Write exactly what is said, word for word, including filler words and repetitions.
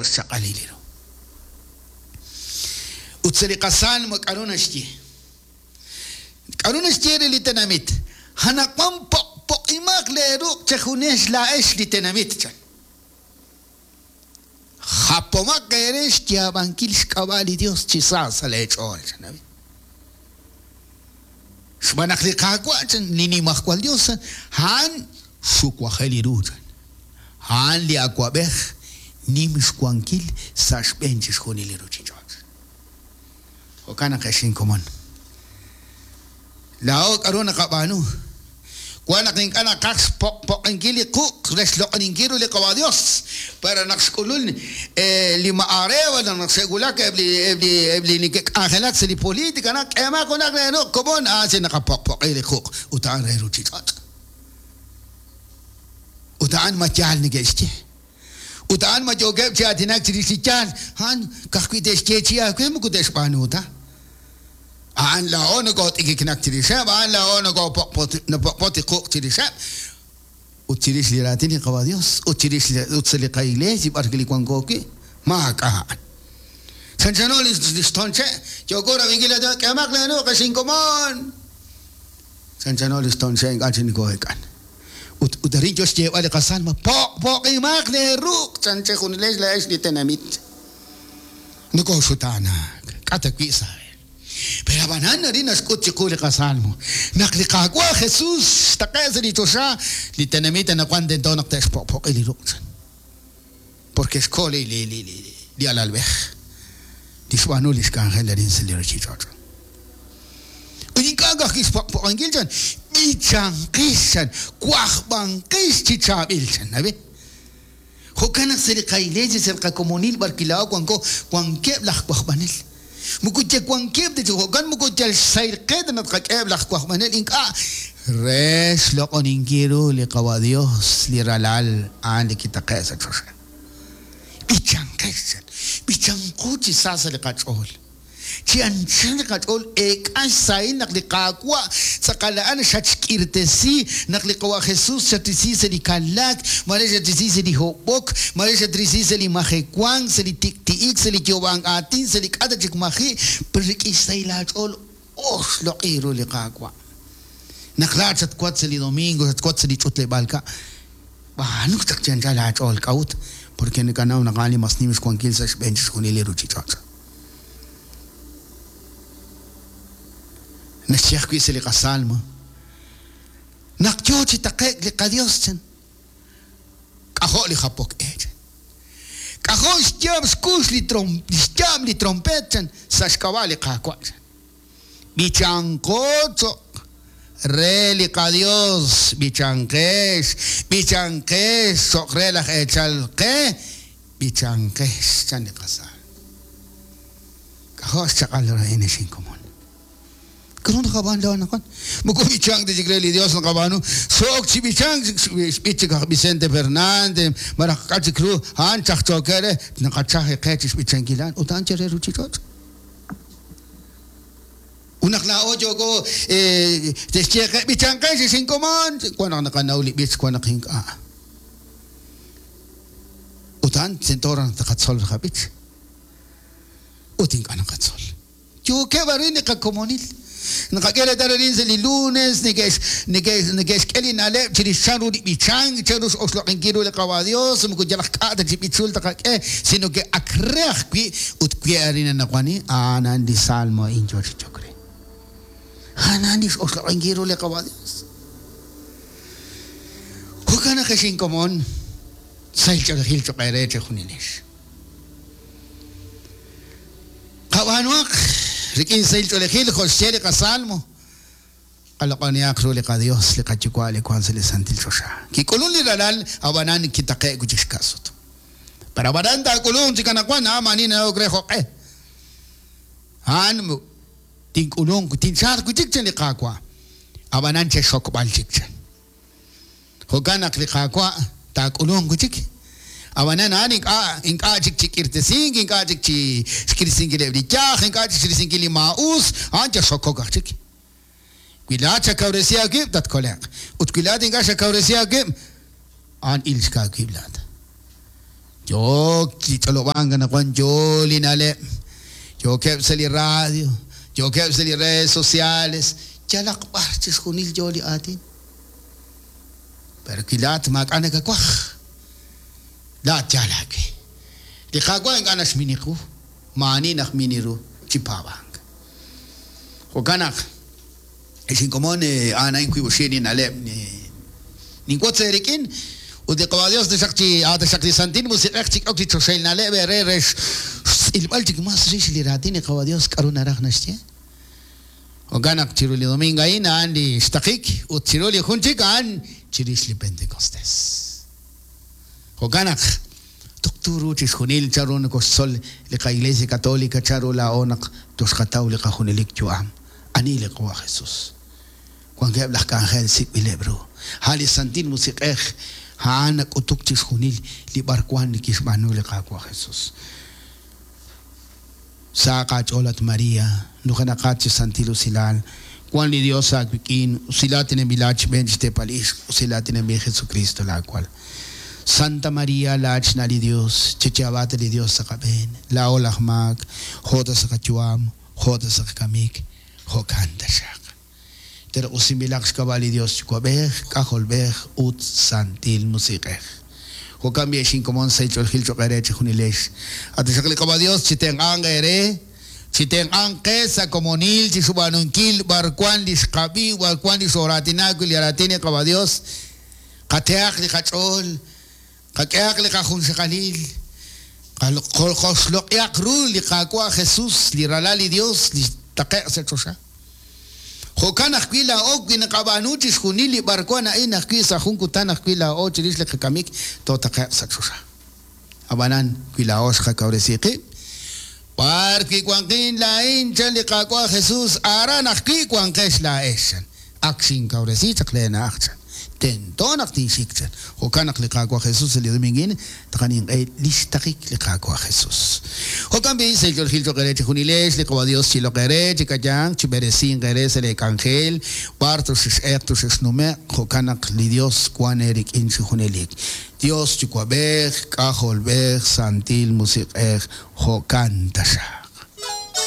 K'ajo' xchaq'alil ru. Ut sa' li qasalmo k'aru naxye? K'aru naxye re li tenamit? Anaqwan poq'poq'imaq leeruq' chejunex laa'ex li tenamit chan. Japomaq eere xyaab'ankil xk'ab'a' li Dios chi sa sa' leech'ool chan. Xb'aan naq li Qaawa' chan li nimajwal Dios a'an xuwajel li ru chan. A'an li awab'ej nim xwankil sa' xb'een chixjunil li ruuchich'och'. Jo'kan naq ex inkomon. Laa'o k'aru naqab'aanu? Wan naq ink'a' naqaj xpoq'poq'inkil li quq' re xloq'oninkil ru li Qawa' Dios. Pero naq xk'ulul li ma'areo naq xe'wulak eb' li eb' li eb' li neke'k'anjelak sa' li politika naq k'eemaq junaq leeruq' komon a'an si naqapoq'poq'i li quq' ut a'an re ruuchich'och'. Ut a'an ma yaal neke'xye. Ut a'an ma yookeb' chi aatinak chirix li yaal, a'an ka'ajwi' te'xye chi aawe moko te'xb'aanu ta. A'an laa'o nokot'ikiknak chirixeb', a'an laa'o nokopoq'poq'i quq' chirixeb'. Ut chirix li raatin li Qawa' Dios, ut chirix ut sa' li qaiglesia b'ar li wanko wi', maak'a' a'an. Chanchano li xtonche', yooko rab'inkil k'eemaq leeruq' ex inkomon. Chanchano li xtonche' ink'a' chi nokoo'eek'an. Ut ut arin yo xyeeb'al li qasalmo, poq'poq'imaq leeruq' chan chejunilex laa'ex li tenamit. Nokooxutaanak, k'a' ta wi' sa'. Pero ab'anan arin naxk'ut chiqu li qasalmo. Naq li Qaawa' Jesús xtaqe' sa' li choxa, li tenamit anaqwan tento naq te'xpoq'poq'i li ruq' chan. Porque xko li li li li alalb'ej. Li xb'aanu li xk'anjel arin sa' li ruuchich'och'. Ut ink'a' ka'ajwi' xpoq'poq'inkil chan, b'ichanqix chan, wajb'anqix chi chaab'il chan, ¿nabi? Jo'kan naq sa' li qaiglesia, sa' li qakomonil b'ar wi' laa'o wanko, wankeb' laj wajb'anel. Moko wankeb' ta chi jo'kan moko yal xsayrqe ta naq tqak'eheb' laj wajb'anel ink'a' re xloq'oninkil ru li Qawa' Dios, li ralal a'an li kitaqe' sa' choxa. B'ichanqex chan, b'ichanqo chi sa sa' li qach'ool. Chi anchal li qach'ool eek'an xsahil naq li Qaawa' tz'aqal a'an xatxk'irtesi, naq li Qawa' Jesús xatrisi sa' li kalak, mare xatrisi sa' li hob'ok, mare xatrisi sa' li majewank, sa' li tik'ti'ik, sa' li yoob'ank aatin, sa' li k'a' ta chik maji', pero rik'in xsahil aach'ool oxloq'i ru li Qaawa'. Naq laa'at xatwat sa' li domingo, xatwat sa' li ch'utleb'aal ka', b'aanu chaq chi anchal aach'ool k'a'ut, porque nakanaw naq a'an li mas nim xwankil sa' xb'een chixjunil li ruuchich'och'. Naxye ajwi' sa' li qasalmo. Naq yo chi taqe'k li qaDios chan. K'ajo' li japok e chan. K'ajo' xyaab' xkux li trom xyaab' li trompet chan sa' xk'ab'a' li Qaawa' chan. B'ichanqo cho'q re li qaDios, b'ichanqex, b'ichanqex cho'q re laj eechal qe, b'ichanqex chan li qasalmo. K'ajo' xchaq'al ru a'in ex inkomon. K'aru naqab'aan laa'o anaqwan? Moko b'ichank ta chik re li Dios naqab'aanu. So'ok chi b'ichank xb'ich chik aj Vicente Fernández, malaj k'a' chik ru a'an chajchooke re naqachaji qe chi xb'ichankil a'an ut a'an che re ruuchich'och'. Ut naq laa'o yooko te'xye qe b'ichanqex ex inkomon, wan naq naqanaw li b'ich, wan naq ink'a'. Ut a'an tento raj naq taqatzol qab'ich. Ut ink'a' naqatzol. Yookeb' arin li qakomonil. Naqak'e reetal arin sa' li lunes, neke'x neke'x neke'xk'e li na'leb' chirix chan ru li b'ichank, chan ru x'oxloq'inkil ru li Qawa' Dios, moko yal aj k'a' ta chi b'ichul taqak'e, sino que ak re ajwi' ut wi' arin anaqwani, a'an a'an li salmo a'in yo chi chok re. A'an a'an li x'oxloq'inkil ru li Qawa' Dios. Jo'kan naq ex inkomon, sahil ch'oolejil choq' eere chejunilex. Qab'aanuaq rik'in sahil ch'oolejil jo' xye li qasalmo. Qaloq'onihaq ru li qaDios, li qaYuwa' li wank sa' li santil choxa. Kik'ulun li ralal, ab'anan kitaqe'k wi' chik xka'sut. Pero ab'anan taak'ulunq chik anaqwan, a'an maani nanawok re jo'q'e. A'an tink'ulunq, tinchalq wi' chik chan li Qaawa'. Ab'anan chexxokb'al chik chan. Jo'kan naq li Qaawa' taak'ulunq wi' chik. Ab'anan a'an ink'a' ink'a' chik chi k'irtesink, ink'a' chik chi xk'irisinkileb' li yaj, ink'a' chik xrisinkil li maa'us, a'an chexxokok aj chik. Wi laa'at xakawresi aawib', tatkole'q. Ut wi laa'at ink'a' xakawresi aawib', a'an il xka aawib' laa'at. Yook chi ch'olob'ank anaqwan yo li na'leb', yookeb' sa' li radio, yookeb' sa' li redes sociales, yalaq b'ar chixjunil yo li aatin. Pero wi laa'at maak'a' nakawaj, laa'at yaal aawe. Li Qaawa' ink'a' naxmini qu, maa'ani najmini ru chi paab'ank. Jo'kan naq ex inkomon a'an a'in wiib' oxib' li na'leb' ninwotz eerik'in ut li Qawa' Dios taxaq chi taxaq li Santil Musiq'ej chik'ok li choxahil na'leb' eere re xtz'ilb'al chik mas rix li raatin li Qawa' Dios k'aru naraj naxye. Jo'kan naq chiru li domingo a'in a'an li xtaqik ut chiru li jun chik a'an chirix li Pentecostés. Jo'kan naq tuqtu ru chixjunil chanru nokoxtzol li qa-Iglesia Católica chanru laa'o naq toxqataw li qajunelik yu'am. Ani li Qawa' Jesús. Wankeb' laj k'anjel sik'b'ileb' ru. A' li Santil Musiq'ej a'an nak'utuk chixjunil li b'arwan li kixb'aanu li Qaawa' Jesús. Sa aach'ool at María, nujenaqat chi santil usilal, wan li Dios aawik'in, usilatinanb'ilat xb'een xteepal ixq, usilatinanb'il Jesucristo laawal. Santa María, laa'at xna' li Dios, chayaab'aat li Dios sa' qab'een, laa'o laj maak, jo' ta sa' qayu'am, jo' ta sa' qakamik, jo'kan taxaq. Pero usinb'ilaq xk'ab'a' li Dios Yuwa'b'ej, K'ajolb'ej ut Santil Musiq'ej. Jo'kan b'i ex inkomon sa' ich'oolejil cho'q eere chejunilex. Ataxaq li Qawa' Dios chitenq'anq eere, chitenq'anq qe sa' komonil chi xub'aanunkil b'arwan li xqab'i, b'arwan li xooraatinak wi' li raatin li Qawa' Dios. Qatehaq li qach'ool, qak'ehaq li qajunxaqalil, qoxloq'ihaq ru li Qaawa' Jesús, li ralal li Dios, li taqe'q sa' choxa. Jo'kan ajwi' laa'o wi naqab'aanu chixjunil li b'arwan a'in ajwi' sa' jun kutan ajwi' laa'o chirix li qakamik tootaqe'q sa' choxa. Ab'anan wi laa'o xqakawresi qib', b'ar wi wanqin laa'in chan li Qaawa' Jesús, aran ajwi' wanqex laa'ex chan. Ak xinkawresi chaq leena'aj chan. Tento naq tinxik chan. Jo'kan naq li Qaawa' Jesús li domingin taqaninq'e li xtaqik li Qaawa' Jesús. Jo'kan b'i' sa' ich'oolejil cho'q eere chejunilex li Qawa' Dios chiloq eere, chik'ayanq, chib'eresinq eere sa' leek'anjel, b'ar toxex'eq toxexnume'q, jo'kan naq li Dios wan eerik'in chi junelik. Dios Yuwa'b'ej, K'ajolb'ej, Santil Musiq'ej, jo'kan taxaq.